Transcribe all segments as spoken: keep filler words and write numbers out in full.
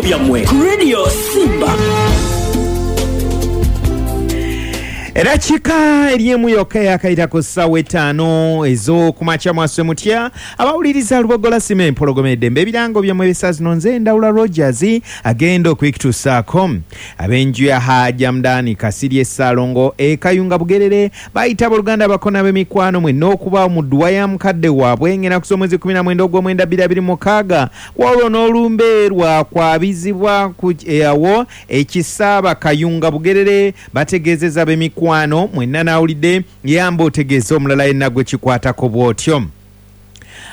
Ebirango byammwe ku Radio Simba. Eddakiika eri yokka yakayita ku ssaawa etaano ez'okumakya. Mwaswe mutya abawuliriza Lubogola Sima Empologoma Eddembe? Ebirango byammwe ebisa zino, nze Ndawula Rogers agenda okwikitusaako. Ab'enju ya Haja Mudani Kasirye Essaalongo e Kayunga Bugerere bayita abooluganda, abakona, b'emikwano mwenna okubaawo mu dduwa ya mukadde waabwe ng'ennaku z'omwezi kumi na mwenda ogw'omwenda bbiri abiri mukaaga. Waliwo n'olumbe lwakwabizibwa ku awo ekisaaba Kayunga Bugerere. Bategeezeza ab'emikwano mwenna, naawulidde yamba otegeeza omulala yenna gwe kikwatako bw'otyo.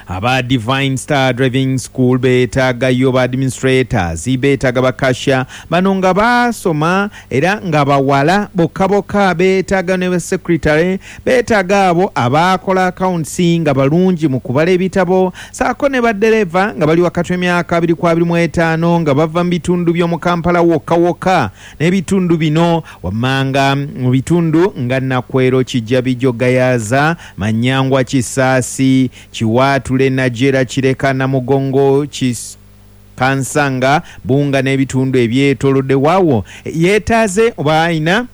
Aba Divine Star Driving School beetaagayo ba administrators, beetaaga ba cashier bano nga basoma era nga bawala bokka bokka, beetaaga ne secretary, beetaaga abo abakola accounts nga balungi mu kubala ebitabo, saako ne baddereva nga bali wakati w'emyaka abiri ku abiri mu etaano, nga bava mu bitundu by'omu Kampala wokka wokka n'ebitundu bino wammanga, mu bitundu nga Nakwero, Kijjabijo, Gayaza, Manyangwa, Kisaasi, Kiwaatule, Najera, Kireka, Namugongo, Kis Kansanga, Bunga n'ebitundu ebyetoolodde waawo. Yeetaaze oba ayina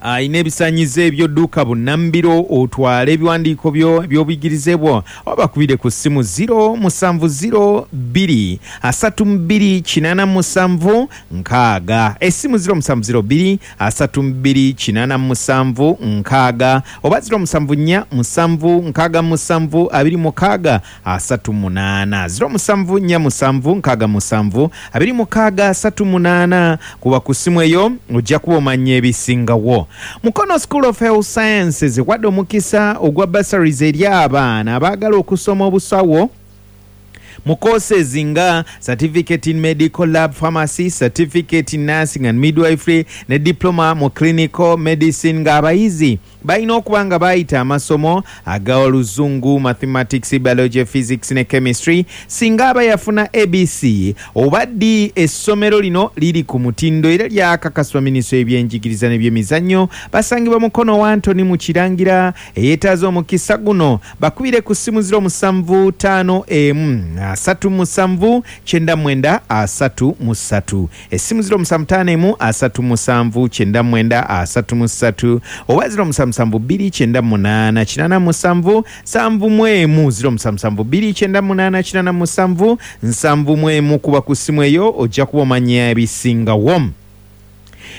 ayina ebisanyizo ebyodduka bunnambiro, otwale ebiwandiiko byo ebyobuyigirize bwo, oba bakubire ku ssimu zero musanvu zero bbiri asatu bbiri kinaana musanvu nkaaga. Essimu zero musanvu zero bbiri asatu bbiri kinaana musanvu nkaaga oba zero musanvu nnya musanvu nkaaga musanvu abiri mukaaga asatu munaana, zero musanvu nnya musanvu nkaaga musanvu abiri mukaaga asatu munaana. Kuba ku ssimu eyo ojja kuba omanya ebisingawo. Mukono School of Health Sciences wadde omukisa ogwa bursaries eri abaana abaagala okusoma obusawo mu courses nga certificate in medical lab pharmacy, certificate in nursing and midwifery ne diploma mu clinical medicine, ng'abayizi balina okuba nga bayita amasomo aga Oluzungu, mathematics, biology, physics ne chemistry. Singa aba yafuna A B C oba D. Essomero lino liri ku mutindo era lyakakasibwa minisitule y'ebyenjigiriza n'ebyemizannyo. Basangibwa Mukono wa Antony mu Kirangira. Eyeetaaza omukisa guno bakubire ku ssimu zero musanvu ttaano emu asatu musanvu kyenda mwenda asatu mu ssatu. Essimu zero musanvu ttaano emu asatu musanvu kyenda mwenda asatu mu ssatu oba zero musanvu musanvu bbiri kyenda munaana kinaana musanvu nsanvu mu emu, zero musanvu musanvu bbiri kyenda munaana kinaana musanvu nsanvu mu emu. Kuba ku ssimu eyo ojja kuba omanya ebisingawo.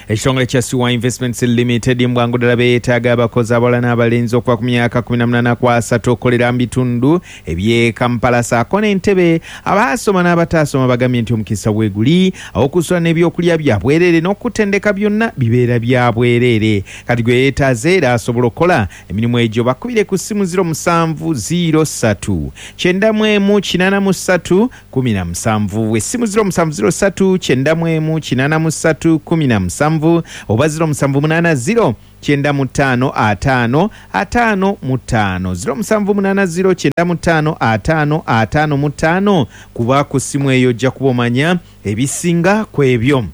Ekitongole kya Siwa Investments Limited mbwangu ddala beetaaga abakozi abawala n'abalenzi okuva ku myaka kkumi na munaana ku asatu okukolera mu bitundu eby'e Kampala saako n'Entebe. Abaasoma n'abataasoma bagambye nti omukisa weeguli, awokusula n'ebyokulya bya bwereere n'okutendeka byonna bibeera bya bwereere. Kati gwe yeetaaze era asobola okukola emirimu egyo, bakubire ku ssimu zero musanvu zero ssatu kyenda mu emu kinaana mu ssatu kumi na musanvu. Essimu zero musanvu zero ssatu kyenda mu emu kinaana mu ssatu kumi na musanvu oba zero musanvu munaana zero kyenda mu ttaano ataano ataano mu ttaano, zero musanvu munaana zero kyenda mu ttaano ataano ataano mu ttaano. Kuba ku ssimu eyo ojja kuba omanya ebisinga ku ebyo.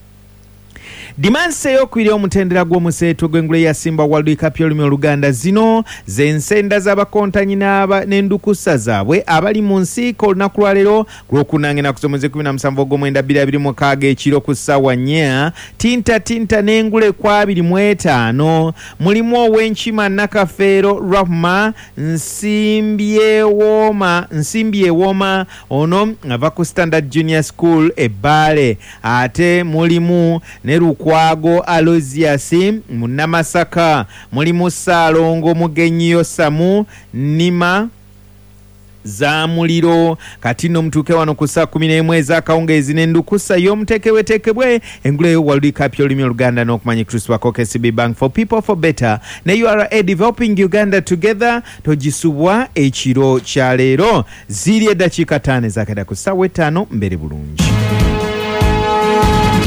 Dimansi eyokubiri omutendera gw'omuseetwe gw'engule ya Simba World Cup y'olulimi Oluganda. Zino z'ensenda z'abakontanyi n'aba- n'endukusa zaabwe abali mu nsiika olunaku lwaleero ku Lwokuna ng'ennaku z'omwezi kkumi na musanvu ogw'omwenda bbiri abiri mu mukaaga ekiro ku ssaawa nnya. Tinta tinta n'engule ku abiri mu etaano mulimu ow'enkima Nakafeero Rahma Nsimbyewooma, Nsimbyewooma, ono ava ku Standard Junior School Ebbaale. Ate mulimu ne Lukwago Alozias Munnamasaka, mulimu Ssaalongo Mugenyi Yosamu Nima za muliro. Kati nno mutuuke wano ku saa kumi n'emu ez'akawungeezi n'endukusa y'omuteekebweteekebwe engule World Cup y'olulimi Oluganda n'okumanya kutuusibwako K C B Bank, for people, for better, ne U R A, developing Uganda together. Togisubwa ekiro kya leero. Ziri eddakiika ttaano ezakada ku ssaawa etaano. Mbere bulungi.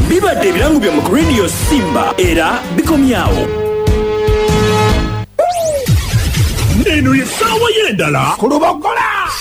Bibadde ebirango byammwe ku Radio Simba era bikomyawo. Eno ye ssaawa y'endala ku Lubogola.